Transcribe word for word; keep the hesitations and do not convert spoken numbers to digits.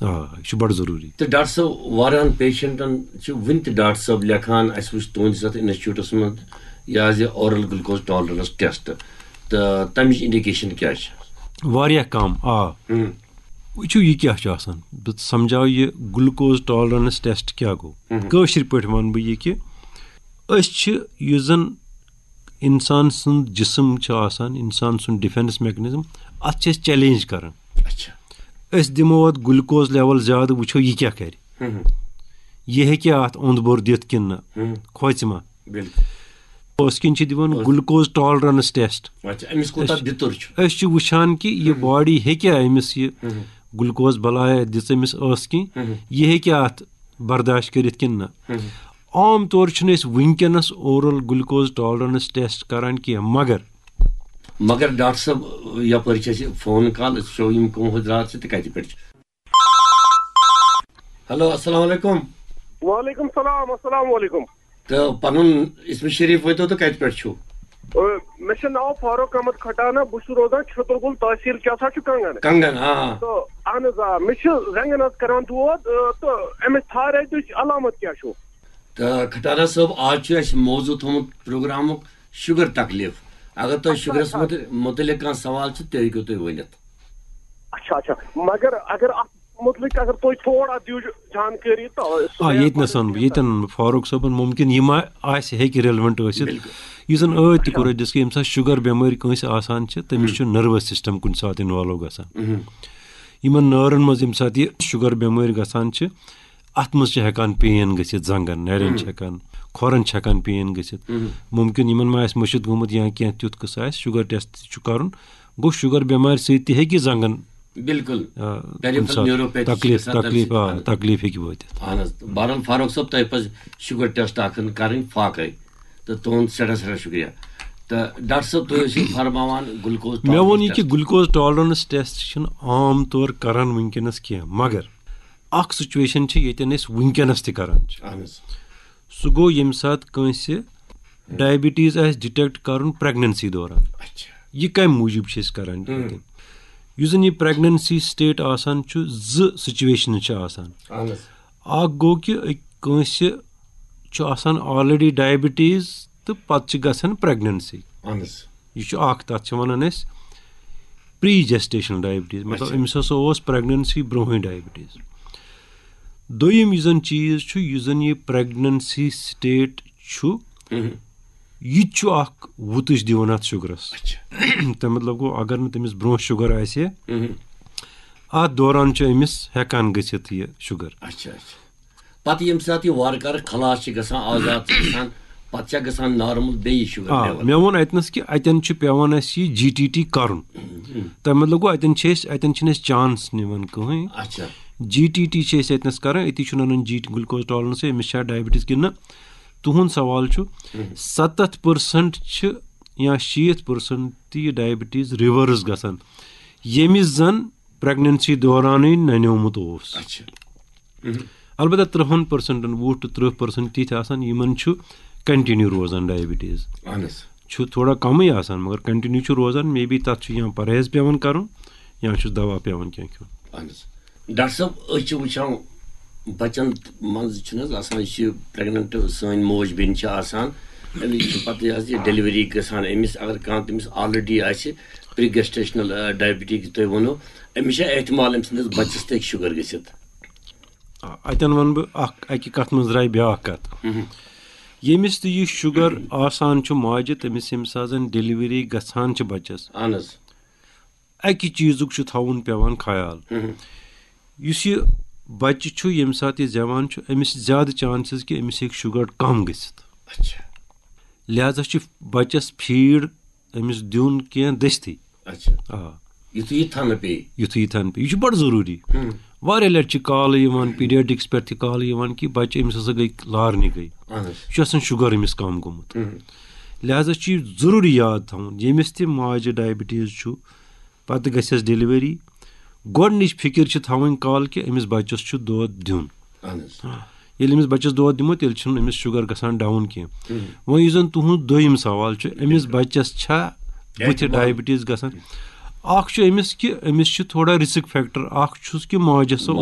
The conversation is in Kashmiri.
آ، یہِ چھُ بڑٕ ضروٗری۔ تہٕ ڈاکٹر صٲب، واریاہن پیشنٹن چھِ وُنہِ تہِ ڈاکٹر صٲب لیکھان، اسہِ وٕچھ تُہنٛدِس اتھ انسٹیٹیوٹس منٛز یہِ حظ یہِ اورل گلوکوز ٹالرنس ٹیسٹ، تہٕ تمِچ انڈیکیشن کیٛاہ چھِ؟ واریاہ کم۔ آ، ہم۔ وٕچھِو، یہِ کیٛاہ چھُ آسان، بہٕ سمجھاو یہِ گلوکوز ٹالرنس ٹیسٹ کیٛاہ گوٚو۔ ہم۔ کٲشِر پٲٹھۍ ونہٕ بہٕ یہِ کہِ أسۍ چھِ، یُس زن انسان سُنٛد جسم چھُ آسان، انسان سُنٛد ڈیفنس میکنزم، اتھ چھِ أسۍ چیلنج کران۔ اچھا۔ أسۍ دِمو اتھ گلوکوز لیول زیادٕ، وٕچھو یہِ کیٛاہ کرِ۔ ہم۔ یہِ ہیٚکہِ اتھ اوٚنٛد بوٚر دِتھ کِنہٕ نہ، ہم۔ کھوژِ ما؟ بالکل۔ أسۍ کِنۍ چھِ دِوان گلوکوز ٹالرنس ٹیسٹ۔ اچھا، أمِس کوٗتاہ بِتُر چھُ؟ أسۍ چھِ وٕچھان کہِ یہِ باڈی ہیٚکیٛاہ أمِس یہِ گلوکوز بلایا دِژ أمِس ٲس کِنۍ، یہِ ہیٚکیٛاہ اتھ برداشت کٔرِتھ کِنہٕ نہ۔ عام طور چھِنہٕ أسۍ وٕنکیٚنس اورل گلوکوز ٹالرنس ٹیسٹ کران کینٛہہ، مگر مگر ڈاکٹر صٲب، یپٲرۍ چھِ اَسہِ فون کال، أسۍ وٕچھو یِم کٕم حضرات چھِ تہٕ کَتہِ پٮ۪ٹھ چھِ۔ ہیلو، السلام علیکم۔ وعلیکم السلام، السلام علیکم۔ تہٕ پنُن اسم شریف ؤنۍتو تہٕ کَتہِ پٮ۪ٹھ چھِو؟ آ، مےٚ چھُ ناو فاروق احمد کھٹانہ، بہٕ چھُس روزان چھترگُل، تحصیل کیٛاہ سا چھُ کنگن۔ کنگن، آ۔ تہٕ اہن حظ آ، مےٚ چھُ زنٛگن حظ کران دود، آ، تہٕ أمِس تھایرایڈٕچ علامت کیٛاہ چھُ؟ تہٕ کھٹانہ صٲب، آز چھُ اَسہِ موضوع تھوٚومُت پروگرامُک شُگر تکلیف۔ اگر تۄہہِ شُگرس مُتعلق کانٛہہ سوال چھُ، تہِ ہیٚکِو تُہۍ ؤنِتھ۔ اچھا اچھا، مگر اگر اتھ مُتعلق اگر تُہۍ تھوڑا دِیِو جانکٲری تہٕ سُہ آ، گٔیے ییٚتہِ نَس وَنہٕ بہٕ، ییٚتٮ۪ن وَنہٕ بہٕ، فاروق صٲبن مُمکِن یہِ ما آسہِ ہیٚکہِ ریلوینٹ ٲسِتھ۔ یُس زَن ٲدۍ تہِ کوٚر اَسہِ ڈِسکس، ییٚمہِ ساتہٕ شُگر بٮ۪مٲرۍ کٲنٛسہِ آسان چھِ، تٔمِس چھُ نٔروَس سِسٹَم کُنہِ ساتہٕ اِنوالو گژھان۔ یِمَن نٲرَن منٛز ییٚمہِ ساتہٕ یہِ شُگر بٮ۪مٲرۍ گژھان چھِ، اَتھ منٛز چھِ ہٮ۪کان پین گٔژھِتھ، زنٛگَن نَرٮ۪ن چھِ ہٮ۪کان، کھۄرَن چھِ ہٮ۪کان پین گٔژھِتھ۔ مُمکِن یِمَن ما آسہِ مٔشِتھ گوٚمُت یا کینٛہہ تیُتھ قٕصہٕ آسہِ، شُگر ٹیسٹ تہِ چھُ کَرُن۔ گوٚو، شُگر بٮ۪مارِ سۭتۍ تہِ ہیٚکہِ زنٛگَن بالکل۔ آ، Peripheral کُنہِ ساتہٕ neuropathy چھِ تکلیف، گژھان تَمہِ تکلیف، سۭتۍ۔ آ، اہن حظ۔ تکلیف ہیٚکہِ وٲتِتھ۔ اہن حظ، بہرحال فاروق صٲب، تۄہہِ پزِ شُگر ٹیسٹ اکھ کرٕنۍ فاقے، تہٕ تُہُنٛد سٮ۪ٹھاہ سٮ۪ٹھاہ شُکریہ۔ تہٕ ڈاکٹر صٲب، تُہۍ ٲسِو فرماوان گلوکوز مےٚ ووٚن tolerance یہِ کہِ test۔ گلوکوز ٹالرنس ٹیسٹ چھِنہٕ عام طور کران وٕنکیٚنس کینٛہہ، مگر اکھ سچویشن چھِ ییٚتٮ۪ن أسۍ وٕنکیٚنس تہِ کران چھِ۔ اہن حظ۔ سُہ گوٚو ییٚمہِ ساتہٕ کٲنٛسہِ ڈایبٹیز آسہِ ڈِٹیکٹ کرُن پریگننسی دوران۔ اچھا۔ یہِ کمہِ موٗجوٗب چھِ أسۍ کران؟ یُس زن یہِ پریگننسی سٹیٹ آسان چھُ، زٕ سچویشنہٕ چھِ آسان۔ اہن حظ۔ اکھ گوٚو کہِ أکۍ کٲنٛسہِ چھُ آسان آلریڈی ڈایبٹیز تہٕ پتہٕ چھِ گژھان پریگننسی۔ اہن حظ۔ یہِ چھُ اکھ، تتھ چھِ ونان أسۍ پری جیسٹیشنل ڈایبٹیز، مطلب، اچھا۔ أمِس ہسا اوس پریگننسی برونٛہٕے ڈایبٹیز۔ دوٚیِم یُس زن چیٖز چھُ، یُس زن یہِ پریگننسی سٹیٹ چھُ، یہِ تہِ چھُ اکھ وُتٕج دِوان اتھ شُگرس۔ اچھا۔ تہٕ مطلب گوٚو، اگر نہٕ تٔمِس برونٛہہ شُگر آسہِ ہے، مہم۔ اتھ دوران چھُ أمِس ہٮ۪کان گٔژھِتھ یہِ شُگر۔ اچھا اچھا۔ پتہٕ ییٚمہِ ساتہٕ یہِ وارٕ کارٕ خلاص چھِ گژھان، آزاد چھِ گژھان، پتہٕ چھا گژھان نارمل بیٚیہِ شُگر آ، لیول؟ مےٚ ووٚن اتنس کہِ اتٮ۪ن چھُ پٮ۪وان اسہِ یہِ جی ٹی ٹی کرُن۔ تمیُک مطلب گوٚو، اتٮ۪ن چھِ أسۍ، اتٮ۪ن چھِنہٕ أسۍ چانس نِوان کٕہٕنۍ۔ اچھا۔ جی ٹی ٹی چھِ أسۍ اتنس کران، أتی چھُ ننان جی گلوکوز ٹالرنس، أمِس چھا ڈایبٹیز کِنہٕ نہ۔ تُہُنٛد سوال چھُ، ستتھ پٔرسنٹ چھِ یا شیٖتھ پٔرسنٹ تہِ یہِ ڈایبٹیز ریورس گژھان، ییٚمِس زن پریگننسی دورانٕے ننیومُت اوس۔ اچھا۔ البتہ ترٕہن پٔرسنٹن، وُہ ٹُو ترٕہ پٔرسنٹ تِتھۍ آسان، یِمن چھُ کنٹِنیو روزان ڈایبٹیز۔ اہن حظ۔ چھُ تھوڑا کمٕے آسان، مگر کنٹِنیو چھُ روزان، مے بی تتھ چھُ یا پرہیز پٮ۪وان کرُن یا چھُس دوا پٮ۪وان کینٛہہ کھیوٚن۔ اہن حظ۔ ڈاکٹر صٲب، أسۍ چھِ وٕچھان بچن منٛز چھُنہٕ حظ آسان، یہِ چھِ پریگننٹ سٲنۍ موج بیٚنہِ چھِ آسان، أمِس چھِ پتہٕ یہِ حظ یہِ ڈیلیوری گژھان، أمِس اگر کانٛہہ تٔمِس آلریڈی آسہِ پری جیسٹیشنل ڈایبٹیز تۄہہِ ووٚنو، أمِس چھا احتمال أمۍ سٕنٛدِس بچس تہِ ہیٚکہِ شُگر گٔژھِتھ؟ آ، اتٮ۪ن ونہٕ بہٕ اکھ، اکہِ کتھ منٛز درٛایہِ بیٛاکھ کتھ۔ ییٚمِس تہِ یہِ شُگر آسان چھُ ماجہِ، تٔمِس ییٚمہِ ساتہٕ زن ڈیلیوری گژھان چھِ بچس، اہن حظ۔ اکہِ چیٖزُک چھُ تھاوُن پٮ۪وان خیال۔ یُس یہِ بچہِ چھُ، ییٚمہِ ساتہٕ یہِ زٮ۪وان چھُ، أمِس چھِ زیادٕ چانسز کہِ أمِس ہیٚکہِ شُگر کم گٔژھِتھ۔ اچھا۔ لہذا چھُ بچس فیٖڈ أمِس دیُن کینٛہہ دٔستی۔ اچھا۔ آ۔ یُتھُے یہِ تھنہٕ پیٚیہِ۔ یُتھُے یہِ تھنہٕ پیٚیہِ۔ یہِ چھُ بڑٕ ضروٗری۔ واریاہ لٹہِ چھِ کالہٕ یِوان، پیڈیاٹرکس پٮ۪ٹھ تہِ کالہٕ یِوان کہِ بچہِ أمِس ہسا گٔے لارنہِ گٔے۔ اہن حظ۔ یہِ چھُ آسان شُگر أمِس کم گوٚمُت۔ لہذا چھُ یہِ ضروٗری یاد تھاوُن، ییٚمِس تہِ ماجہِ ڈایبٹیز چھُ، پتہٕ گژھٮ۪س ڈیلیوری، گۄڈٕنِچ فکر چھِ تھاوٕنۍ کالہٕ کہِ أمِس بچس چھُ دۄد دیُن۔ اہن حظ۔ ییٚلہِ أمِس بچس دۄد دِمو، تیٚلہِ چھُنہٕ أمِس شُگر گژھان ڈاوُن کینٛہہ۔ وۄنۍ یُس زن تُہُنٛد دوٚیِم سوال چھُ، أمِس بچس چھا بُتھِ ڈایبٹیز گژھان؟ اکھ چھُ أمِس کہِ أمِس چھُ تھوڑا رسک فیکٹر، اکھ چھُس کہِ ماجہِ ہسا